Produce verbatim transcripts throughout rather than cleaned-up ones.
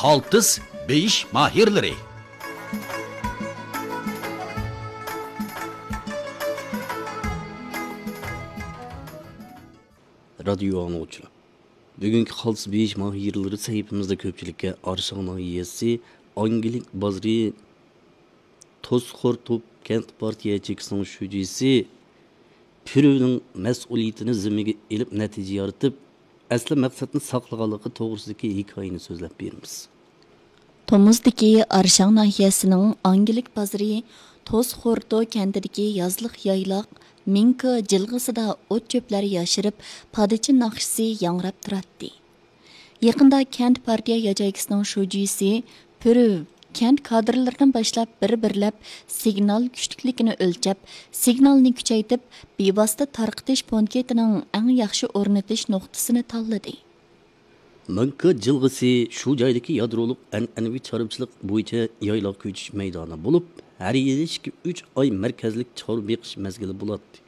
قالتىس بېيىش ماھىرلىرى. رادىيو ئاڭلىغۇچىلار، بۈگۈنكى قالتىس بېيىش ماھىرلىرى سەھىپىمىزدە كۆپچىلىككە ئارشاڭ ناھىيەسى ئاڭگىلىك بازىرى توسخورتوپ كەنت پارتىيە ياچېيكىسىنىڭ شۇجىسى پۈرۈۋنىڭ مەسئۇلىيىتىنى زىممىگە ئېلىپ نەتىجە يارىتىپ، ئەسلى مەقسەتنى ساقلىغانلىقى توغرىسىدىكى ھېكايىنى سۆزلەپ بېرىمىز. تومۇزدىكى ئارشاڭ ناھىيەسىنىڭ ئاڭگىلىك بازىرى توسخورتو كەنتىدىكى يازلىق يايلاق مىڭكا جىلغىسىدا ئوت چۆپلەر ياشىرىپ، پادىچى ناخشىسى ياڭراپ تۇراتتى. يېقىندا كەنت پارتىيە ياچېيكىسىنىڭ شۇجىسى پۈرۈۋ كەنت كادىرلىرىدىن باشلاپ بىر-بىرلەپ سىگنال كۈچلۈكلۈكىنى ئۆلچەپ، سىگنالنى كۈچەيتىپ، بىۋاسىتە تارقىتىش پونكىتىنىڭ ئەڭ ياخشى ئورنىتىش نۇقتىسىنى تاللىدى. مىڭكا جىلغىسى شۇ جايدىكى يادرولۇق ئەنئەنىۋى چارۋىچىلىق بويىچە يايلاق كۆچۈش مەيدانى بولۇپ، ھەر يىلى ئىككى، ئۈچ ئاي مەركەزلىك چارۋا بېقىش مەزگىلى بولاتتى.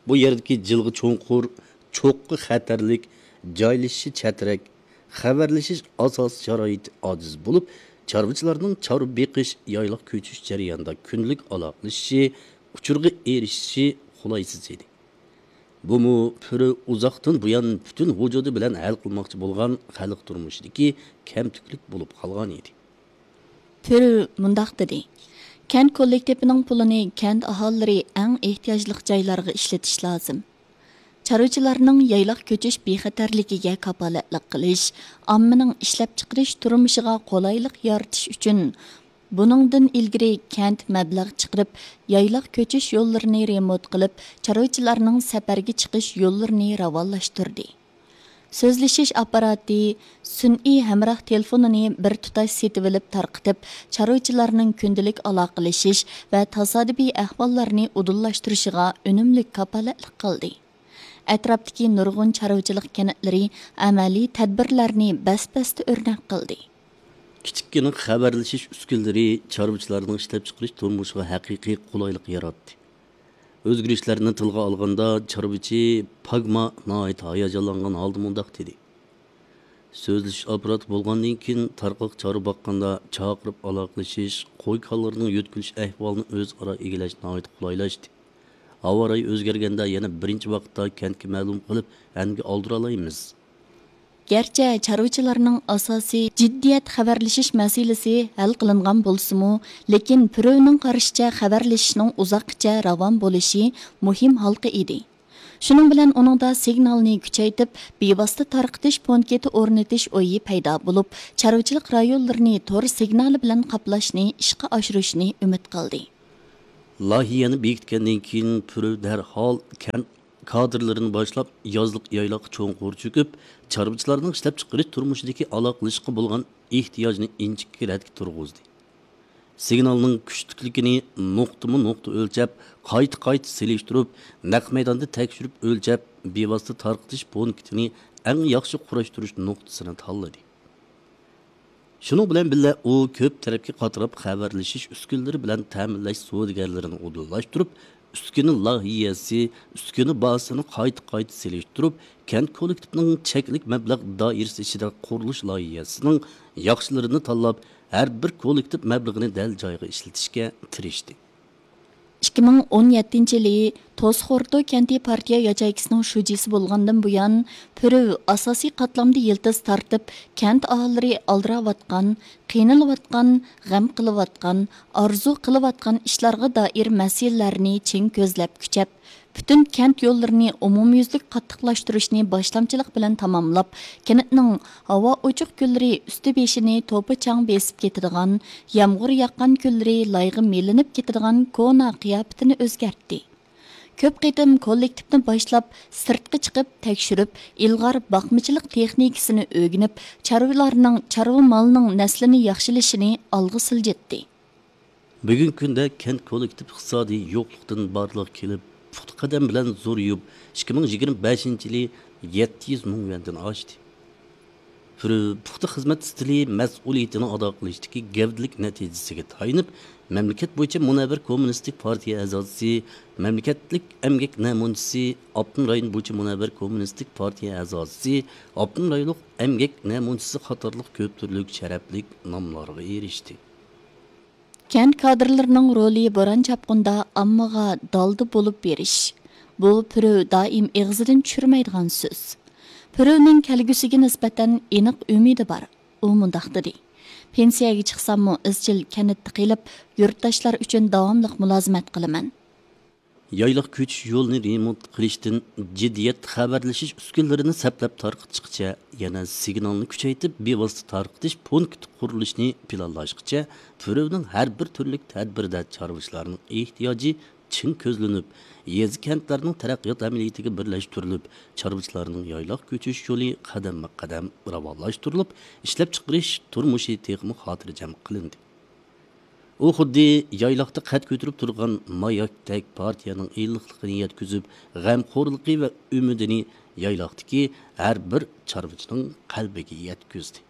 بۇ يەردىكى جىلغا چوڭقۇر، چوققا خەتەرلىك، جايلىشىشى چەترەك، خەۋەرلىشىش ئاساسىي شارائىتى ئاجىز بولۇپ، چارۋىچىلارنىڭ چارۋا بېقىش، يايلاق كۆچۈش جەريانىدا كۈندىلىك ئالاقىلىشىشى، ئۇچۇرغا ئېرىشىشى قولايسىز ئىدى. بۇمۇ پۈرۈۋ ئۇزاقتىن بۇيان پۈتۈن ۋۇجۇدى بىلەن ھەل قىلماقچى بولغان خەلق تۇرمۇشىدىكى كەمتۈكلۈك بولۇپ قالغان ئىدى. پۈرۈۋ مۇنداق دېدى: كەنت كوللېكتىپىنىڭ پۇلىنى كەنت ئاھالىلىرى ئەڭ ئېھتىياجلىق جايلارغا ئىشلىتىش لازىم. چارۋىچىلارنىڭ يايلاق كۆچۈش بىخەتەرلىكىگە كاپالەتلىك قىلىش، ئاممىنىڭ ئىشلەپچىقىرىش تۇرمۇشىغا قولايلىق يارىتىش ئۈچۈن، بۇنىڭدىن ئىلگىرى كەنت مەبلەغ چىقىرىپ، يايلاق كۆچۈش يوللىرىنى رېمونت قىلىپ، چارۋىچىلارنىڭ سەپەرگە چىقىش يوللىرىنى راۋانلاشتۇردى. سۆزلىشىش ئاپپاراتى، سۈنئىي ھەمراھ تېلېفونىنى بىر تۇتاش سېتىۋېلىپ تارقىتىپ، چارۋىچىلارنىڭ كۈندىلىك ئالاقىلىشىش ۋە تاسادىپىي ئەھۋاللارنى ئۇدۇللاشتۇرۇشىغا ئۈنۈملۈك كاپالەتلىك قىلدى. ئەتراپتىكى نۇرغۇن چارۋىچىلىق كەنتلىرى ئەمەلىي تەدبىرلەرنى بەس-بەستە ئۆرنەك قىلدى. كىچىككىنە خەۋەرلىشىش ئۈسكۈنىلىرى چارۋىچىلارنىڭ ئىشلەپچىقىرىش تۇرمۇشىغا ھەقىقىي قولايلىق ياراتتى. ئۆزگىرىشلەرنى تىلغا ئالغاندا، چارۋىچى پاگما ناھايىتى ھاياجانلانغان ھالدا مۇنداق دېدى: سۆزلىشىش ئاپپاراتى بولغاندىن كېيىن، تارقاق چارۋا باققاندا چاقىرىپ ئالاقىلىشىش، قوي-كالىلىرىنىڭ يۆتكىلىش ئەھۋالىنى ئۆزئارا ئىگىلەش ناھايىتى قولايلاشتى. ھاۋا رايى ئۆزگەرگەندە يەنە بىرىنچى ۋاقىتتا كەنتكە مەلۇم قىلىپ، ئەنگە ئالدۇرالايمىز. گەرچە چارۋىچىلارنىڭ ئاساسىي جىددىيەت خەۋەرلىشىش مەسىلىسى ھەل قىلىنغان بولسىمۇ، لېكىن پۈرۈۋنىڭ قارىشىچە، خەۋەرلىشىشنىڭ ئۇزاققىچە راۋان بولۇشى مۇھىم ھالقا ئىدى. شۇنىڭ بىلەن ئۇنىڭدا سىگنالنى كۈچەيتىپ، بىۋاسىتە تارقىتىش پونكىتى ئورنىتىش ئويى پەيدا بولۇپ، چارۋىچىلىق رايونلىرىنى تور سىگنالى بىلەن قاپلاشنى ئىشقا ئاشۇرۇشنى ئۈمىد قىلدى. لايىھەنى بېكىتكەندىن كېيىن، پۈرۈۋ دەرھال كەنت كادىرلىرىنى باشلاپ، يازلىق يايلاققا چوڭقۇر چۆكۈپ، چارۋىچىلارنىڭ ئىشلەپچىقىرىش تۇرمۇشىدىكى ئالاقىلىشىشقا بولغان ئېھتىياجنى ئىنچىكە رەتكە تۇرغۇزدى. سىگنالنىڭ كۈچلۈكلۈكىنى نۇقتىمۇ نۇقتا ئۆلچەپ، قايتا-قايتا سېلىشتۇرۇپ، نەق مەيداندا تەكشۈرۈپ ئۆلچەپ، بىۋاسىتە تارقىتىش پونكىتىنى ئەڭ ياخشى قۇراشتۇرۇش نۇقتىسىنى تاللىدى. شۇنىڭ بىلەن بىللە، ئۇ كۆپ تەرەپكە قاتراپ خەۋەرلىشىش ئۈسكۈنىلىرى بىلەن تەمىنلەش سودىگەرلىرىنى ئۇدۇللاشتۇرۇپ، ئۈسكۈنە لايىھەسى، ئۈسكۈنە بازىسىنى قايتا-قايتا سېلىشتۇرۇپ، كەنت كوللېكتىپىنىڭ چەكلىك مەبلەغ دائىرىسى ئىچىدە قۇرۇلۇش لايىھەسىنىڭ ياخشىلىرىنى تاللاپ، ھەر بىر كوللېكتىپ مەبلىغىنى دەل جايىغا ئىشلىتىشكە تىرىشتى. ئىككى مىڭ ئون يەتتىنچى يىلى توسخورتو كەنتى پارتىيە ياچېيكىسىنىڭ شۇجىسى بولغاندىن بۇيان، پۈرۈۋ ئاساسىي قاتلامدا يىلتىز تارتىپ، كەنت ئاھالىلىرى ئالدىراۋاتقان، قىينىلىۋاتقان، غەم قىلىۋاتقان، ئارزۇ قىلىۋاتقان ئىشلارغا دائىر مەسىلىلەرنى چىڭ كۆزلەپ كۈچەپ، پۈتۈن كەنت يوللىرىنى ئومۇميۈزلۈك قاتتىقلاشتۇرۇشنى باشلامچىلىق بىلەن تاماملاپ، كەنتنىڭ ھاۋا ئوچۇق كۈنلىرى ئۈستى بېشىنى توپا چاڭ بېسىپ كېتىدىغان، يامغۇر ياغقان كۈنلىرى لايغا مىلىنىپ كېتىدىغان كونا قىياپىتىنى ئۆزگەرتتى. كۆپ قېتىم كوللېكتىپنى باشلاپ، سىرتقا چىقىپ تەكشۈرۈپ، ئىلغار باقمىچىلىق تېخنىكىسىنى ئۆگىنىپ، چارۋىلارنىڭ، چارۋا مالىنىڭ نەسلىنى ياخشىلىشىنى ئالغا سىلجىتتى. بۈگۈنكى كۈندە كەنت كوللېكتىپ ئىقتىسادىي يوقلۇقتىن بارلىققا كېلىپ، پۇختا قەدەم بىلەن زورىيىپ، ئىككى مىڭ يىگىرمە بەشىنچى يىلى يەتتە يۈز مىڭ يۈەندىن ئاشتى. پۈرۈ پۇختا خىزمەت ئىستىلى، مەسئۇلىيىتىنى ئادا قىلىشتىكى گەۋدىلىك نەتىجىسىگە تايىنىپ، مەملىكەت بويىچە مۇنەۋۋەر كوممۇنىستىك پارتىيە ئەزاسى، مەملىكەتلىك ئەمگەك نەمۇنىچىسى، ئاپتونوم رايون بويىچە مۇنەۋۋەر كوممۇنىستىك پارتىيە ئەزاسى، ئاپتونوم رايونلۇق ئەمگەك نەمۇنىچىسى قاتارلىق كۆپ تۈرلۈك شەرەپلىك ناملارغا ئېرىشتى. كەنت كادىرلىرىنىڭ رولى بوران-چاپقۇندا ئاممىغا دالدا بولۇپ بېرىش. بۇ پۈرۈ دائىم ئېغىزىدىن چۈشۈرمەيدىغان سۆز. پۈرۈنىڭ كەلگۈسىگە نىسبەتەن ئېنىق ئۈمىدى بار. ئۇ مۇنداق دېدى: پېنسىيەگە چىقساممۇ ئىزچىل كەنتتە قېلىپ، يۇرتداشلار ئۈچۈن داۋاملىق مۇلازىمەت قىلىمەن. يايلاق كۆچۈش يولىنى رېمونت قىلىشتىن جىددىيەت خەۋەرلىشىش ئۈسكۈنىلىرىنى سەپلەپ تارقىتىشقىچە، يەنە سىگنالنى كۈچەيتىپ، بىۋاسىتە تارقىتىش پونكىتى قۇرۇلۇشىنى پىلانلاشقىچە، پۈرۈنىڭ ھەر بىر تۈرلۈك تەدبىرىدە چارۋىچىلارنىڭ ئېھتىياجى چىڭ كۆزلىنىپ، يېزا، كەنتلەرنىڭ تەرەققىيات ئەمەلىيىتىگە بىرلەشتۈرۈلۈپ، چارۋىچىلارنىڭ يايلاق كۆچۈش يولى قەدەممۇ قەدەم راۋانلاشتۇرۇلۇپ، ئىشلەپچىقىرىش تۇرمۇشى تېخىمۇ خاتىرجەم قىلىندى. ئۇ خۇددى يايلاقتا قەد كۆتۈرۈپ تۇرغان ماياكتەك پارتىيەنىڭ ئىللىقلىقىنى يەتكۈزۈپ، غەمخورلۇقى ۋە ئۈمىدىنى يايلاقتىكى ھەر بىر چارۋىچىنىڭ قەلبىگە يەتكۈزدى.